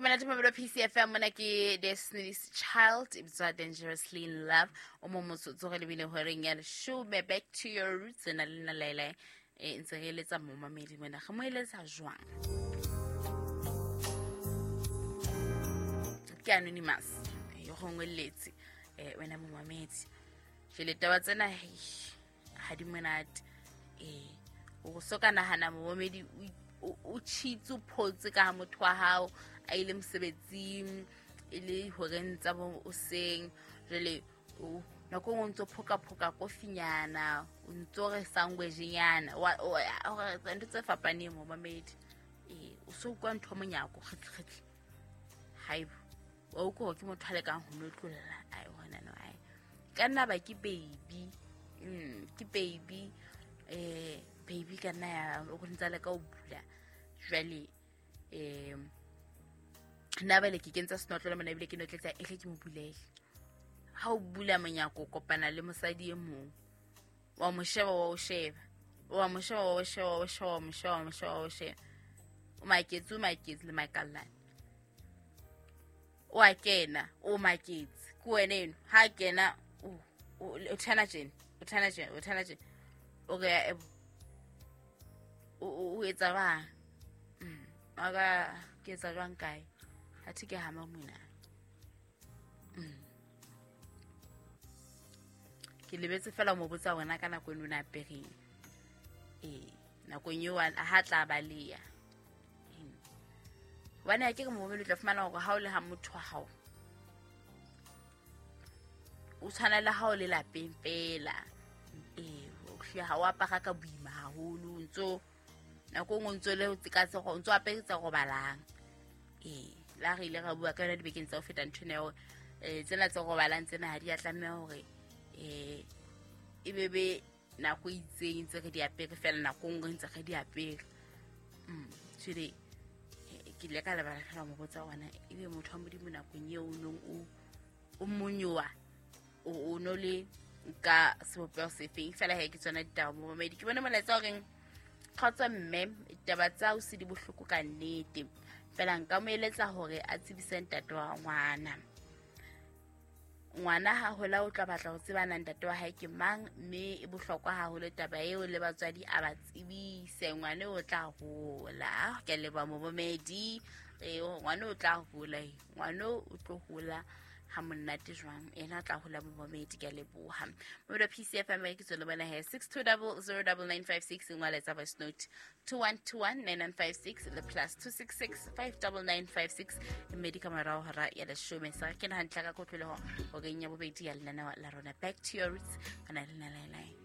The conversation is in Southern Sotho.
Monate mabelo PCFM mona ke Destiny's Child e bitswa Dangerously in Love. O mo motsotso re lebile horeng ya leshome. Back to your roots na le nna Laila e ntse re eletsa momamedi mona. Re mo eletsa jwang? Ke anonymous. Yo gongwe letse wena momamedi. Jwale taba tsena ha di monate. O so ka nahana momamedi o tshitse o photse ka ha motho wa hao a ile mosebetsing e le horeng tsa bo o seng. Jwale o nako nngwe o ntso phoka-phoka kofinyana, o ntso re sandwichnyana, ntho tse fapaneng momamedi. O so utlwa ntho monyako kgetli-kgetli. Haibo, wa utlwa hore ke motho a lekang ho notlolla. Ai, hona no, ai. Ka nna ba ke baby. Ke baby. Baby ka nna ya o ntsa leka ho bula. Jwale nna bale ke kentsa senotlolo mona ebile ke notletsa ehle ke mo bulele. Ha o bula monyako o kopana le mosadi e mong. Wa mo sheba, wa o sheba. Wa mo sheba, wa o sheba, wa o sheba, wa mo sheba, wa mo sheba, wa o sheba. O maketse, o maketse le makallane. O a kena, o maketse. Ke wena eno. Ha a kena, o thana tjena, o thana tjena, o thana tjena. O re, o etsa jwang? Aka ke etsa jwang kae? Athe ke hama mona. Ke lebetse fela mo botsa wena ka nako eno na apereng. Nakong eo ha tla baleha. Hobane ha ke re momamedi o tla fumana hore ha o le ha motho wa hao, o tshwana le ha o le lapeng fela. O hlile ha o apara ka boima haholo, o ntso nako nngwe o ntso le ka tse o ntso apere tse robalang. La re ile ra bua ka yona dibekeng tsa ho feta ntho ena ya hore, tsena tse robalang tsena ha di a tlameha hore, e be be nako e itseng ntse re di apere fela, nako nngwe ntse re di apere. Jwale, ke ile ka lebala fela mo botsa hona, ebe motho wa Modimo nakong eo o nong o monyowa, o no le ka sebopeho sefeng. Fela he ke tsona ditaba momamedi. Ke bone molaetsa o reng, kgotso mme, ditaba tsa o se di bohloko ka nnete. Fela nka mo eletsa hore a tsebise ntate wa ngwana. Ngwana ha hola o tla batla ho tseba na ntate wa hae ke mang, mme e bohlokwa haholo taba eo le batswadi a ba tsebise. Ngwana o tla hola. Ke a leboha momamedi. Ngwana o tla hola, ngwana o tlo hola ha monate jwang, ena o tla hola momamedi. Ke a leboha. Momamedi wa PCFM ke tswele bona he 62009956, ngwala tsa voice note 21219956 le plus 266 59956. Mme di ka morao hora ya leshome. Sa ke na hantle ka kotloloho horeng ya bobedi ya lenaneo la rona Back to Your Roots. Kana le nna Laelai.